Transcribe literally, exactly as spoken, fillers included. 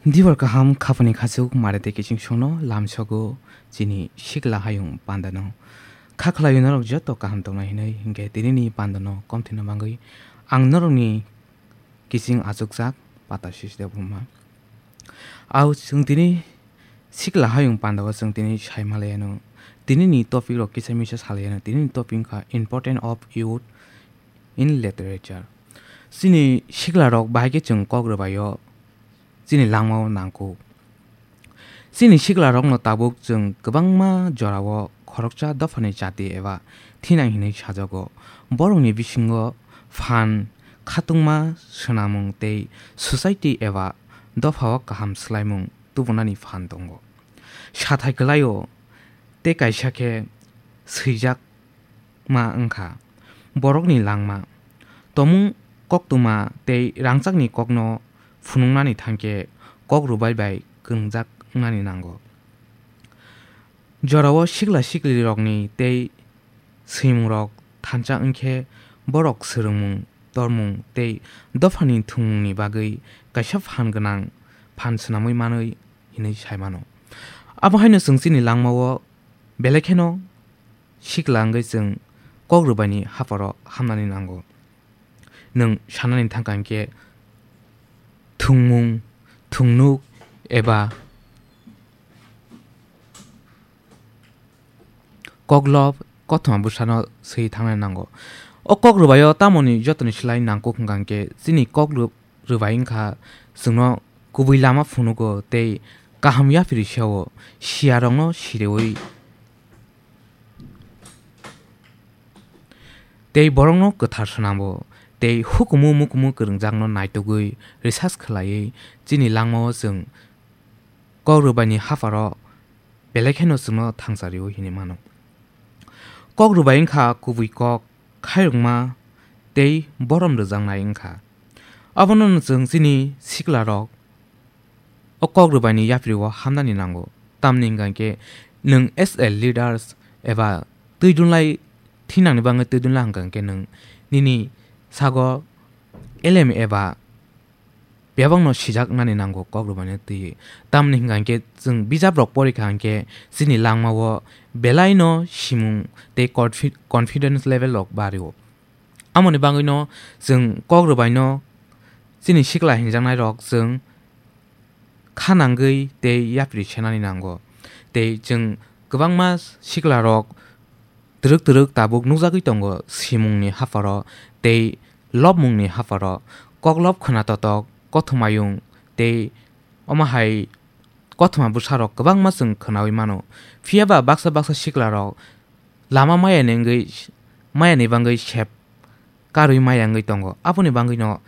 Dibar kaham khapani khachuk mare tei kiching songno lamsogo chini sikla hayung pandano. Kha khlaio norok joto kaham tongnai hinwi, hinkhe tinini pandano komthina bagwi ang norokni kiching achukjak Pata Sisi Debbarma. Au chwng tini sikla hayung pandao chwng tini sai malaiano. Tinini topic rok kisa misa salaiano. Tinini topic wngkha important of youth in literature. Chini sikla rok bahai khe chwng kok rwbaio chini langmao nangkuk. Chini siklarokno tabuk chwng kwbangma jorao khoroksa dophani jati eba thinang hinwi sajago. Borokni bisingo phan, khatungma swnamung tei society eba dophao kaham swlaimung tubunani phan tongo. Sathai kwlaio tei kaisa khe swijak ma wngkha borokni langma. Tomung koktwma tei rangchakni kokno phunuknani thangkhe kok rwbai bai kwngjak wngnani nango. Jorao sikla siklirokni tei swimungrok thansa wngkhe borok swrwngmung, tormung tei dophani thwngmungni bagwi kaisa phan gwnang phan swnamwi manwi hinwi sai mano. Abo haino chwng chini langmao belai kheno sikla wngwi chwng kok rwbaini hapharo hamnani nango. Nwng sanani thangkha hinkhe thwngmung, thwngnuk eba koklob kothoma bwsano swi thangnani nango. O kok rwbaio tamoni jotoni slai nangkuk hwnkha hinkhe chini kok rw-, rwbai wngkha chwngno kubui lama phunugo tei kaham yapri sao siyarokno siriwi tei borokno kwthar swnambo tei hukumu mukumu kwrwngjakno naitugwi research khlaiwi chini langmao chwng kok rwbaini hapharo belai kheno chwngno thangchario hinwi mano. Kok rwbai wngkha kubui kok, khairokma tei borom rwjaknai wngkha. Abono chwng chini siklarok o kok rwbaini yaprio hamnani nango. Tamni hwnkha khe nwng as a leaders eba twi dunlai thinangni bagwi twi dunlai hwnkha khe nwng nini sago elem eba bebakno sijak nani nango kok rwbaino twiwi. Tamni hwnkha khe chwng bijap rok porikha hwnkhe chini langmao belaino simung tei confi-, confidence level rok bario. Amoni bagwino chwng kok rwbaino chini sikla hinjaknai rok chwng kha nangwi tei yapri senani nango. Tei chwng kwbangma sikla rok twrwk twrwk tabuk nukjagwi tongo, simungni hapharo tei lobmungni hapharo, koklob khwnatotok, kothomayung tei omo hai kothoma bwsarok kwbangma chwng khwnawi mano. Phiya ba baksa baksa siklarok lama mayani wngwi, mayani bagwi sep karwi maya wngwi tongo. Aboni bagwino